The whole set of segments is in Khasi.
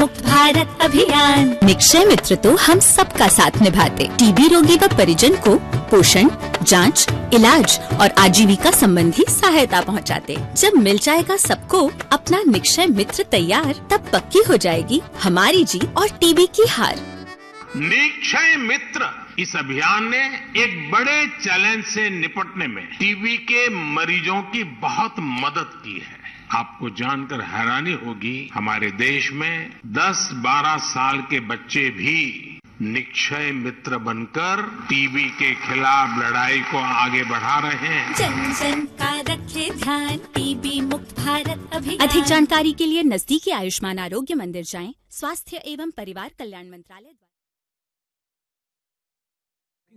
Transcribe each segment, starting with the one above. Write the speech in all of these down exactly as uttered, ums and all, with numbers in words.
भारत अभियान। निक्षय मित्र तो हम सबका साथ निभाते, टीबी रोगी व परिजन को पोषण, जांच, इलाज और आजीविका संबंधी सहायता पहुंचाते। जब मिल जाएगा सबको अपना निक्षय मित्र तैयार, तब पक्की हो जाएगी हमारी जीत और टीबी की हार। निक्षय मित्र इस अभियान ने एक बड़े चैलेंज से निपटने में टीबी के मरीजों की बहुत मदद की है। आपको जानकर हैरानी होगी, हमारे देश में दस बारह साल के बच्चे भी निक्षय मित्र बनकर टीबी के खिलाफ लड़ाई को आगे बढ़ा रहे हैं। जन जन का रखे ध्यान, टीबी मुक्त भारत अभियान। अधिक जानकारी के लिए नजदीकी आयुष्मान आरोग्य मंदिर जाएं, स्वास्थ्य एवं परिवार कल्याण मंत्रालय द्वारा।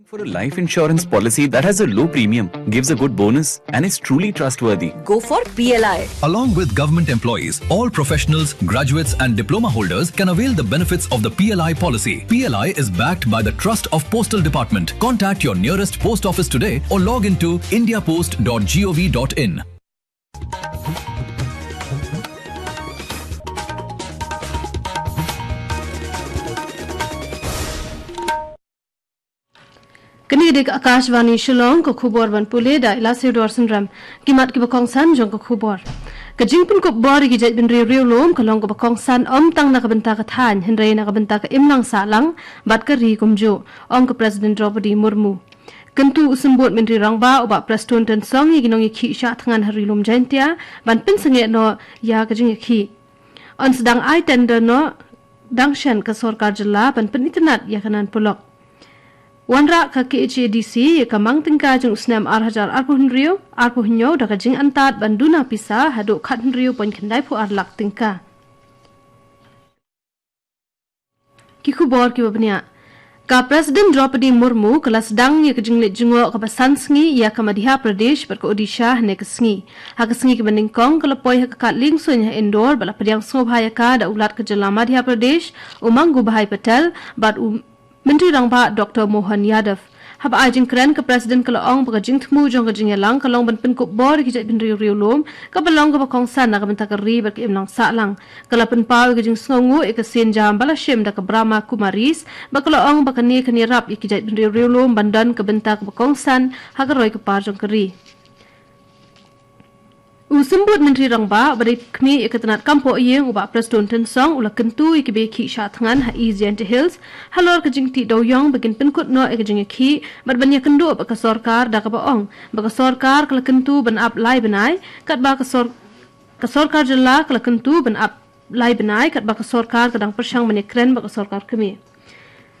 For a life insurance policy that has a low premium, gives a good bonus, and is truly trustworthy? Go for P L I. Along with government employees, all professionals, graduates, and diploma holders can avail the benefits of the P L I policy. P L I is backed by the Trust of Postal Department. Contact your nearest post office today or log into indiapost dot gov dot in. Kane ka dei ka Akashvani Shillong, ka khubor ban pule da i Lasiew Dor Synrem. Ki mat kiba kongsan jong ka khubor. Ka jingpynkup bor ïa ki jaitbynriew riewlum ka long kaba kongsan ym tang na ka bynta ka thaiñ hynrei na ka bynta ka imlang sahlang bad ka ri kumjuh, ong ka President Droupadi Murmu. Kyntu u Symbud Myntri Rangbah u Bah Prestone Tynsong ïa ki nongïakhih shah thngan ha Ri Lum Jaiñtia ban pynsangeh noh ïa ka jingïakhih. Yn sdang ai tender noh dang shen ka sorkar jylla ban pynitynnad ïa ka Nan Polok. Wanrah ka K H A D C ïa ka mang tyngka jong u snem ar hajar arphew hynriew arphew hynñiew da ka jingantad ban duna pisa haduh khathynriew point khyndaiphew ar lak tyngka. Ki khubor kiba bniah. Ka President Droupadi Murmu ka la sdang ïa ka jingleit jngoh kaba san sngi ïa ka Madhya Pradesh bad ka Odisha hynne ka sngi. Ha ka sngi kaba nyngkong ka la poi ha ka kad liengsuiñ ha Indore bad la pdiang sngewbha ïa ka da u Lat ka jylla Madhya Pradesh, u Mangubhai Patel, bad u Myntri Rangbah Doctor Mohan Yadav. Haba ai jingkren ka President ka la ong ba ka jingthmu jong ka jingïalang ka long ban pynkup bor ïa ki jaitbynriew riewlum kaba long kaba kongsan na ka bynta ka ri bad ka imlang sahlang. Ka la pynpaw ïa ka jingsngewnguh ïa ka sienjam ba la shim da ka Brahma Kumaris bad ka la ong ba kane kan ïarap ïa ki jaitbynriew riewlum ban don ka bynta kaba kongsan ha ka roi ka par jong ka ri. U Symbud Myntri Rangbah ba dei khmih ïa ka tnat kam poh ïing u Bah Prestone Tynsong u la kyntu ïa ki ba ïakhih shah thngan ha East Jaintia Hills halor ka jingtih dewiong ba kin pynkut noh ïa ka jingïakhih bad ban ïakynduh bad ka sorkar da kaba ong ba ka sorkar ka la kyntu ban ap lai bnai katba ka sor-, ka sorkar jylla ka la kyntu ban ap lai bnai katba ka sorkar ka dang pyrshang ban ïakren bad ka sorkar kmie.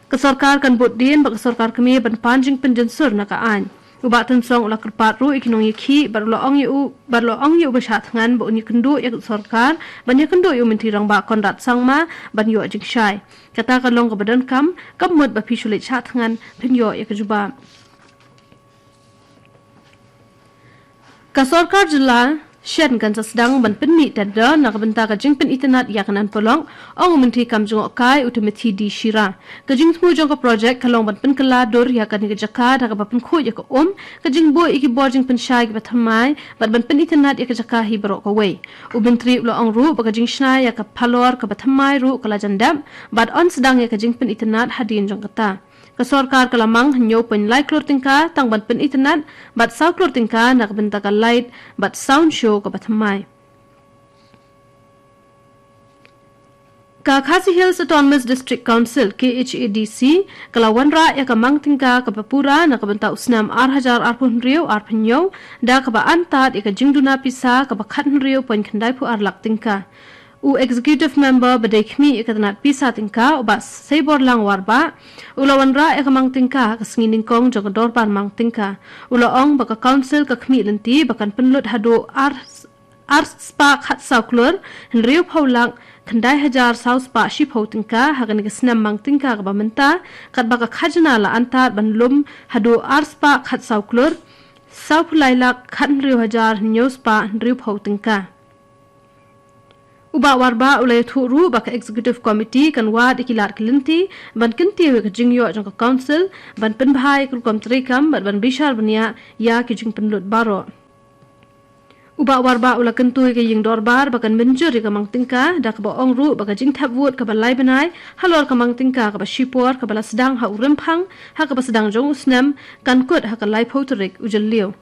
Ka sorkar kan bud dien bad ka sorkar kmie ban pan jingpynjynsur na ka aiñ. U Bah Tynsong u la kyrpad ruh ïa ki nongïakhih bad u la ong ïa u, bad u la ong ïa u ba shah thngan ba un ïakynduh ïa ka sorkar ban ïakynduh ïa u Myntri Rangbah Conrad Sangma ban ïoh jingshai. Kata ka long kaba donkam, kam mut ba phi shu leit shah thngan phin ïoh ïa ka jubab. Ka sorkar jylla shen kan sa sdang ban pynmih tender na ka bynta ka jingpynitynnad ïa ka Nan Polok, ong u Myntri kam jngohkai u Timothy D Shira. Ka jingthmu jong ka projek ka long ban pynkylla dur ïa kane ka jaka da kaba pynkhuid ïa ka um, ka jingbuh ïa ki bor jingpynshai kiba thymmai bad ban pynitynnad ïa ka jaka hi baroh kawei. U Myntri u la ong ruh ba ka jingshna ïa ka phalor kaba thymmai ruh ka la jan dep bad yn sdang ïa ka jingpynitynnad hadien jong kata. Ka sorkar ka la mang hynñiew point lai klur tyngka tang ban pynitynnad bad saw klur tyngka na ka bynta ka light bad sound show kaba thymmai. Ka Khasi Hills Autonomous District Council, K H A D C, ka la wanrah ïa ka mang tyngka kaba pura na ka bynta u snem ar hajar arphew hynriew arphew hynñiew da kaba antad ïa ka jingduna pisa kaba khathynriew point khyndaiphew ar lak tyngka. U Executive Member ba dei khmih ïa ka tnat pisa tyngka u Bah Seiborlang Warbah u la wanrah ïa ka mang tyngka ha ka sngi nyngkong jong ka dorbar mang tyngka. U la ong ba ka Council ka khmih lynti ba kan pynlut haduh ar, ar spah khatsaw klur hynriewphew lak khyndai hajar saw spah shiphew tyngka ha kane ka snem mang tyngka kaba mynta, katba ka khajna la antad ban lum haduh ar spah khatsaw klur sawphew lai lak khathynriew hajar hynñiew spah hynriewphew tyngka. U Bah Warbah u la ïathuh ruh ba ka Executive Committee kan wad ïa ki lad ki lynti ban kyntiew ïa ka jingïoh jong ka Council ban pynbha ïa ka rukom treikam bad ban bishar bniah ïa ki jingpynlut baroh. U Bah Warbah u la kyntu ïa ka ïing dorbar ba kan mynjur ïa ka mang tyngka, da kaba ong ruh ba ka jingthep vote kaba lai bnai halor ka mang tyngka kaba shipor kaba la sdang ha u Rymphang ha kaba sdang jong u snem kan kut ha ka laiphew tarik u Jylliew.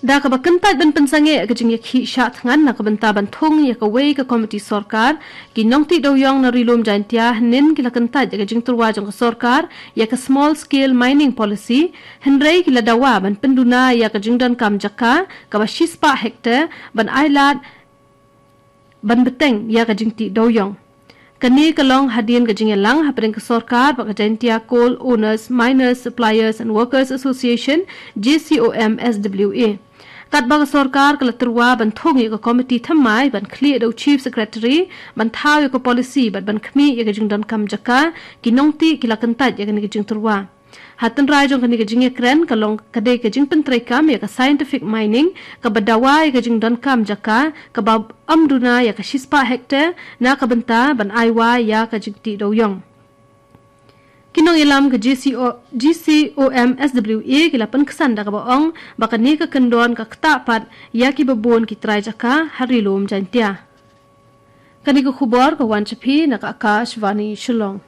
Da kaba kyntait ban pynsangeh ka jingïakhih shah thngan na ka bynta ban thung ïa kawei ka komiti sorkar, ki nongtih dewiong na Ri-lum Jaintia hynnin ki la kyntait ïa ka jingtyrwa jong ka sorkar ïa ka Small Scale Mining Policy, hynrei ki la dawa ban pynduna ïa ka jingdonkam jaka kaba shispah hektar ban ailad ban bteng ïa ka jingtih dewiong. Kane ka long hadien ka jingïalang hapdeng ka sorkar bad ka Jaintia Coal Owners, Miners, Suppliers and Workers Association, J C O M S W A. Katba ka sorkar ka la tyrwa ban thung ïa ka komiti thymmai ban khlieh da u Chief Secretary ban thaw ïa ka policy bad ban khmih ïa ka jingdonkam jaka, ki nongtih ki la kyntait ïa kane ka jingtyrwa. Ha tynrai jong kane ka jingïakren ka long ka dei ka jingpyntreikam ïa ka scientific mining kaba dawa ïa ka jingdonkam jaka kaba ym duna ïa ka shispah hektar na ka bynta ban aiwa ïa ka jingtih dewiong. Ki nongïalam ka G C O, G C O M S W A ki la pynksan da kaba ong ba kane ka kyndon ka ktah pat ïa kiba bun ki trai jaka ha Ri-lum Jaintia. Kane ka khubor ka wan sha phi na ka Akashvani Shillong.